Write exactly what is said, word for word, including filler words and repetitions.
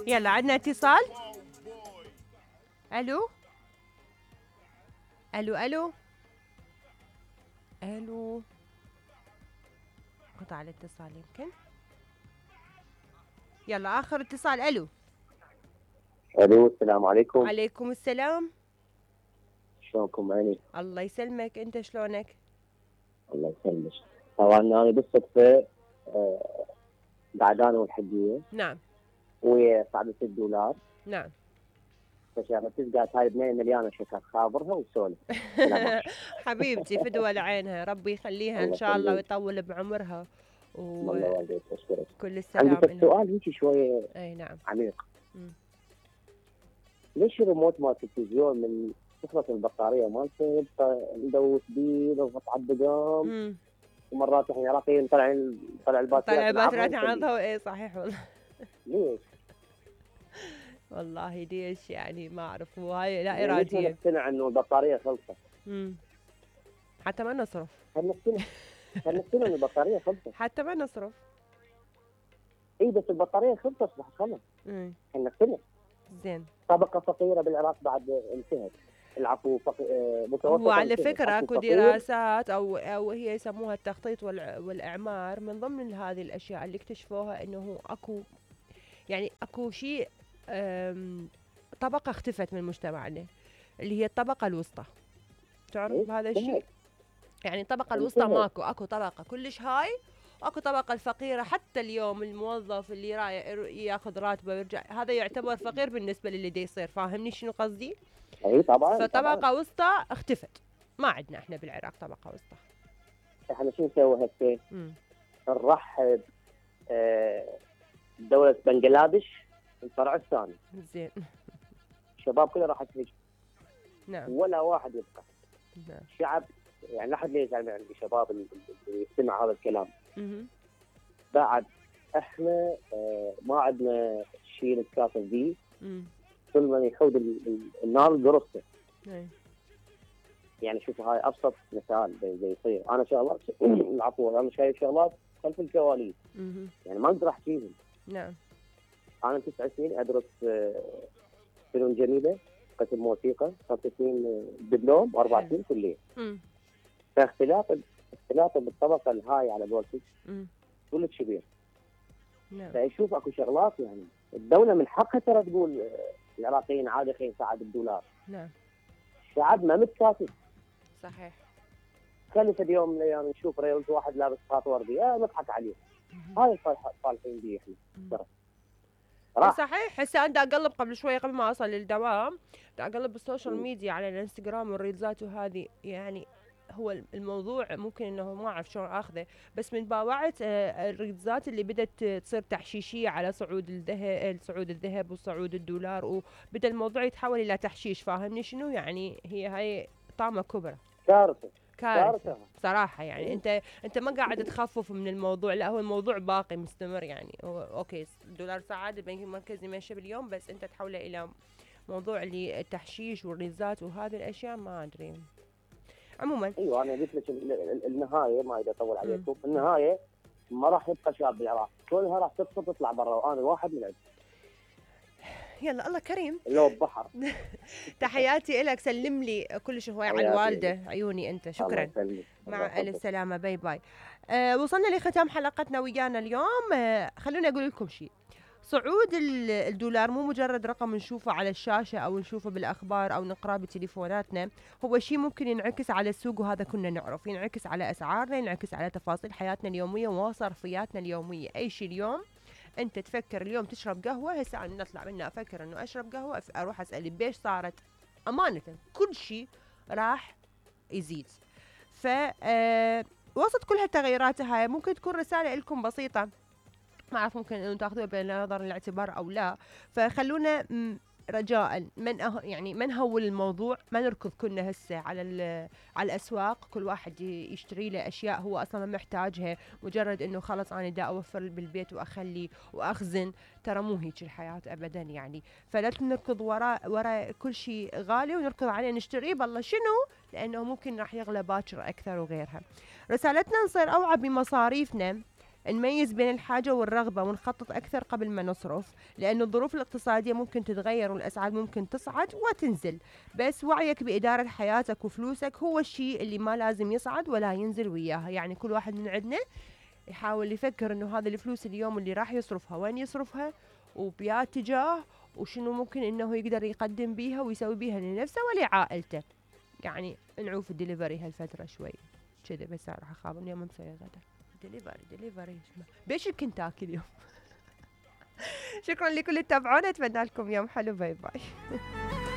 يلا عندنا اتصال. الو الو الو الو قطع الاتصال يمكن. يلا اخر اتصال. الو الو السلام عليكم. عليكم السلام. شلونكم عيني؟ الله يسلمك، انت شلونك؟ الله يسلمك. طبعا انا بالصدفه آه قاعد انا والحجيه. نعم. ويا صاحبة الدولار. نعم. فشغلت قالت هاي بنيه مليانه شكر، خابرها وسولف. حبيبتي فدوى لعينها، ربي يخليها ان شاء الله ويطول بعمرها وكل السلام. عندي سؤال هيك شويه. اي نعم. عميق. م. ليش الريموت مال التلفزيون من تخلص البطاريه مالته يبقى ندوس بيه نضغط على الدقام، ومرات احنا عراقيين طالعين طلع الباتريات طلع الباتريات عرضها. اي صحيح والله. ليش؟ والله ليش يعني ما اعرف، وهاي لا اراديه. ليش نقتنع انه البطاريه خلصت؟ امم حتى ما نصرف. هل نقتنع هل نقتنع انه البطاريه خلصت؟ حتى ما نصرف. اي بس البطاريه خلصت راح خلص. امم هل نقتنع؟ زين. طبقه فقيره بالعراق بعد انتهت. العفو فق... متوسط. وعلى فكره اكو دراسات او او هي يسموها التخطيط والاعمار، من ضمن هذه الاشياء اللي اكتشفوها انه اكو يعني اكو شيء طبقه اختفت من مجتمعنا اللي هي الطبقه الوسطى. تعرف هذا الشيء؟ يعني الطبقه الوسطى ماكو، اكو طبقه كلش هاي واكو طبقه الفقيره. حتى اليوم الموظف اللي رايح ياخذ راتبه ويرجع هذا يعتبر فقير بالنسبه للي دي يصير. فاهمني شنو قصدي؟ اي طبعا. فطبقه طبعاً. وسطى اختفت، ما عندنا احنا بالعراق طبقه وسطى. احنا شو نسوي هسه؟ نرحب آه دولة بنغلاديش الفرع الثاني. زين. الشباب كله راح تهجم. نعم. ولا واحد يبقى. نعم. الشعب يعني لا احد ليش يعني عندي شباب اللي يستمع هذا الكلام. اها. بعد احنا آه ما عندنا شيء نتكاتف فيه. كل من يحود النار قرصته. يعني شوف هاي ابسط مثال زي يصير. انا شغلات العفو انا شايف شغلات خلف الكواليس. يعني ما اقدر احكيهم. نعم. انا تسع سنين ادرس فنون جميله، قسم موسيقى، خمس سنين دبلوم واربع سنين كليه. فاختلاف اختلاف بالطبقه الهاي على قولتك كلش كبير. نعم. فيشوف اكو شغلات يعني الدوله من حقها ترى تقول العراقيين عادي خلينا نساعد الدولار. نعم. الشعب ما متكاتف. صحيح. خلي في يوم من الايام نشوف ريلز واحد لابس خاط وردي اه نضحك عليه. هاي صالحين بيه احنا. صحيح. هسه انا اقلب قبل شوي قبل ما اصل للدوام، اقلب بالسوشيال ميديا على الانستغرام والريلزات وهذه. يعني هو الموضوع ممكن انه ما اعرف شلون اخذه، بس من باوعت الريلزات اللي بدت تصير تحشيشيه على صعود الذهب صعود الذهب وصعود الدولار، وبدا الموضوع يتحول الى تحشيش. فاهمني شنو يعني؟ هي هاي طامه كبرى. كارثه. كارثه صراحه. يعني انت انت ما قاعد تخفف من الموضوع، لا هو الموضوع باقي مستمر. يعني هو اوكي الدولار صعد، البنك المركزي ماشي باليوم، بس انت تحوله الى موضوع اللي التحشيش والريزات وهذه الاشياء ما ادري. عموما ايوه انا قلت لك النهايه ما اريد اطول عليكم. النهايه ما راح يبقى شاب بالعراق، كلها راح تسقط تطلع برا، وانا واحد من عندهم. يلا الله كريم. لو بحر. تحياتي لك، سلم لي كل شيء على الوالده. عيوني انت. شكرا. مع الف سلامه. باي باي. آه وصلنا لختام حلقتنا ويانا اليوم. آه خلوني اقول لكم شيء. صعود الدولار مو مجرد رقم نشوفه على الشاشة أو نشوفه بالأخبار أو نقرأه بتليفوناتنا، هو شيء ممكن ينعكس على السوق، وهذا كنا نعرف. ينعكس على أسعارنا، ينعكس على تفاصيل حياتنا اليومية وصرفياتنا اليومية. أي شيء اليوم أنت تفكر اليوم تشرب قهوة، هسه أنا نطلع منها أفكر أنه أشرب قهوة، أروح أسأل بيش صارت. أمانة كل شيء راح يزيد. ف آه وسط كل هالتغيرات هاي ممكن تكون رسالة لكم بسيطة، ما أعرف ممكن أنه تأخذوها بنظر الاعتبار أو لا. فخلونا رجاء من أه يعني ما نهول الموضوع، ما نركض كلنا هسه على على الأسواق كل واحد يشتري له أشياء هو أصلا ما محتاجها، مجرد إنه خلص أنا دا أوفر بالبيت وأخلي وأخزن. ترى مو هيك الحياة أبدا يعني. فلا نركض وراء وراء كل شيء غالي ونركض عليه نشتريه بالله شنو، لأنه ممكن راح يغلى باكر أكثر وغيرها. رسالتنا نصير أوعى بمصاريفنا، نميز بين الحاجة والرغبة ونخطط أكثر قبل ما نصرف، لأن الظروف الاقتصادية ممكن تتغير والأسعار ممكن تصعد وتنزل، بس وعيك بإدارة حياتك وفلوسك هو الشيء اللي ما لازم يصعد ولا ينزل وياها. يعني كل واحد من عندنا يحاول يفكر إنه هذا الفلوس اليوم اللي راح يصرفها وين يصرفها وبيا اتجاه، وشنو ممكن إنه يقدر يقدم بيها ويسوي بيها لنفسه ولعائلته. يعني نعوف الدليفري هالفترة شوي كذا، بس راح أخاف اليوم مسوي غدا دليفري دليفري بيش الكنتاكي اليوم. شكرا لكل اللي تابعونا، اتمنى لكم يوم حلو، باي باي.